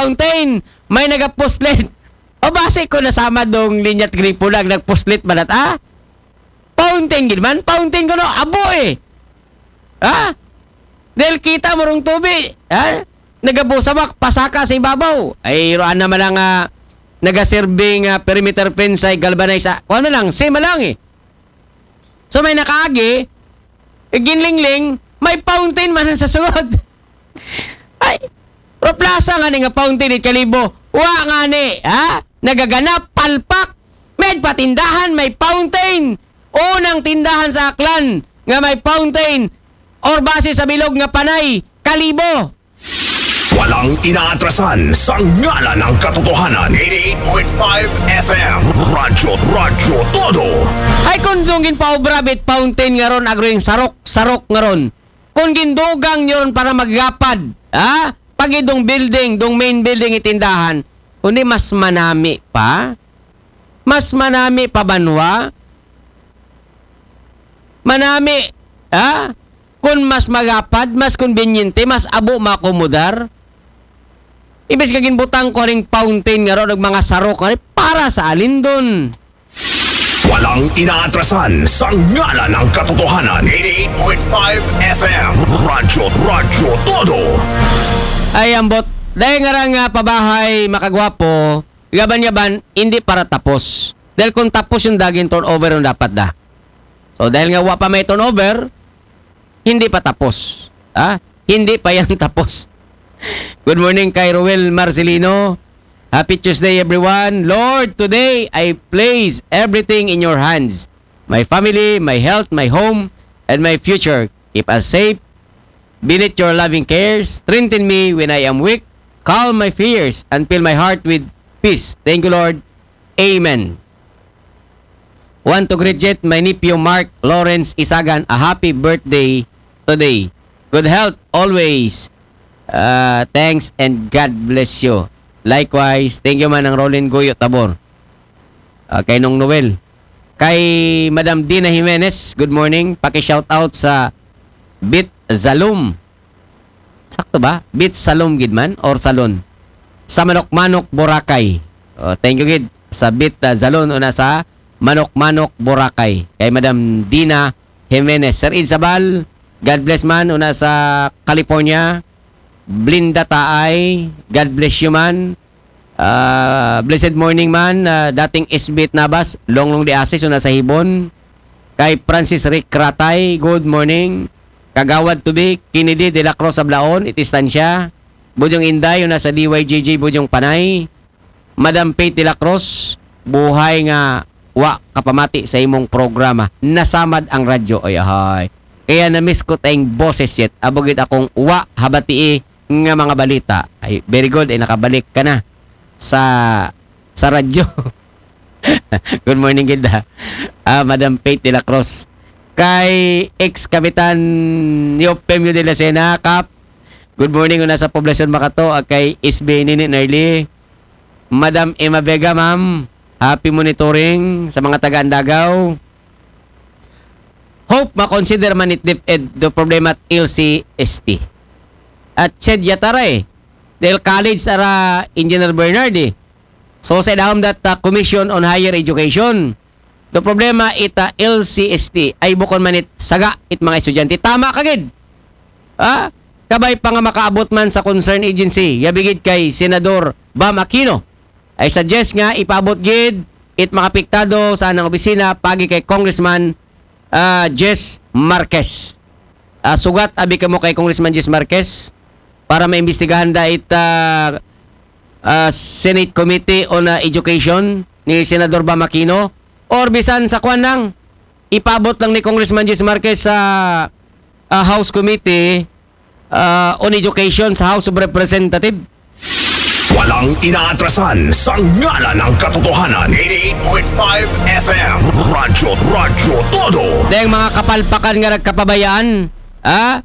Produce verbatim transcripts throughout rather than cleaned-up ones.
fountain, may nagapuslit. O basi ko nasama dong linyat gripo na nagpuslit ba nat, ah? Fountain gid man, fountain ko no, abo eh. Ha? Dahil kita mo rong tubi, ha? Nagabusamak, pasaka sa ibabaw. Ay, roan naman ang ah, nagaserbing ah, perimeter fence ay galvanize. Ah, kung ano lang, sima lang eh. So may nakaagi, eh, ginlingling, may fountain man ang sa sugod. Ay, pero plaza nga ni nga fountain it Kalibo. Wa nga ni, ha? Nagaganap, palpak. May patindahan, may fountain. Unang tindahan sa Aklan nga may fountain. Or base sa bilog nga panay, Kalibo. Walang inaatrasan sa ngalan ng katotohanan. eighty-eight point five F M. Radyo, Radyo Todo. Ay kung dong ginpaobra bit fountain nga ron, agro yung sarok, sarok nga ron. Kung gindugang nyo ron para maggapad, ha? Pag idong building, dong main building itindahan, kundi mas manami pa? Mas manami pa banwa? Manami, ha? Kung mas magapad, mas konbinyente, mas abo makomodar. Imbes nga ginbutang ko ring fountain nga ron, mga sarok nga rin, para sa alindon. Walang inaatrasan sa ngalan ng katotohanan. eighty-eight point five F M. Radyo, Radyo Todo. Ay, ambot. Dahil nga rang ah, pabahay, makagwapo, yaban-yaban, hindi para tapos. Dahil kung tapos yung daging turnover yung dapat da. So, dahil nga wa pa may turnover, hindi pa tapos. Ha? Hindi pa yan tapos. Good morning kay Roel Marcelino. Happy Tuesday, everyone. Lord, today I place everything in your hands. My family, my health, my home, and my future. Keep us safe. Beneath your loving care, strengthen me when I am weak. Calm my fears and fill my heart with peace. Thank you, Lord. Amen. Want to greet yet my nephew Mark Lawrence Isagan a happy birthday today. Good health always. Uh, thanks and God bless you. Likewise, thank you man ang Rolin Guyo Tabor. Uh, kay Nong Noel. Kay Madam Dina Jimenez, good morning. Paki-shout out sa Bit Zalum. Sakto ba? Bit Salum gid man or Salon? Sa Manok-Manok, Boracay. Oh, thank you gid sa Bit uh, Zalon una sa Manok-Manok, Boracay. Kay Madam Dina Jimenez. Sir Id Sabal, God bless man una sa California. Blinda Taay, God bless you man. Uh, blessed morning man, uh, dating Isbit Nabas, Longlong de Asis, una sa Hibon. Kay Francis Rick Ratay, good morning. Kagawad Tubi, Kennedy de la Cruz Ablaon, Itistansya. Bujong Inday, una sa D Y G G, Bujong Panay. Madam Faith de la Cruz, buhay nga wa kapamati sa imong programa. Nasamad ang radyo. Ay, ahay. Kaya na-miss ko tayong boses yet. Abugid akong wa habatii nga mga balita. Ay, very good. Ay, nakabalik ka na sa sa radyo. Good morning, Gilda. Ah, Madam Faith de la Cruz. Kay ex-kapitan Yopemio de la Sena, Kap. Good morning, una sa Poblacion Makato, ah, kay S B Nini Nerly. Madam Emma Vega, ma'am. Happy monitoring sa mga taga Andagaw. Hope ma-consider man it DepEd do problema at L C S T. At Ched Yatara eh. Dahil college ara Engineer Bernard eh. So sa dahom that uh, Commission on Higher Education, do problema ita L C S T ay bukon man it saga it mga estudyante. Tama kagid. Ha? Kabay pa nga makaabot man sa concern agency, yabigid kay Senador Bam Aquino. Ay suggest nga ipaabot gid it mga apektado sa anang opisina pagi kay Congressman ah, Jess Marquez. Ah, sugat abi kamo kay Congressman Jess Marquez para maimbestigahan da it ah, ah, Senate Committee on ah, Education ni Senador Bam Aquino or bisan sa kwan lang ipaabot lang ni Congressman Jess Marquez sa ah, House Committee ah, on Education sa House of Representatives. Walang inaatrasan sa ngalan ng katotohanan. eighty-eight point five F M. Radyo, Radyo Todo. Dahil mga kapalpakan nga nagkapabayaan, ha?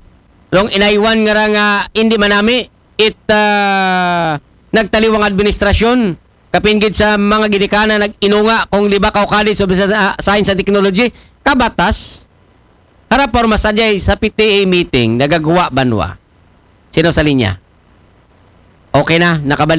Rong inaywan nga ra nga hindi manami, it ah, nagtaliwang administrasyon, kapin gid sa mga ginikanan nag-inunga kung libak o college of sa- science and technology, kabatas, harap or masadyay sa P T A meeting, nagagawa banwa. Sino sa linya? Okay na, nakabalik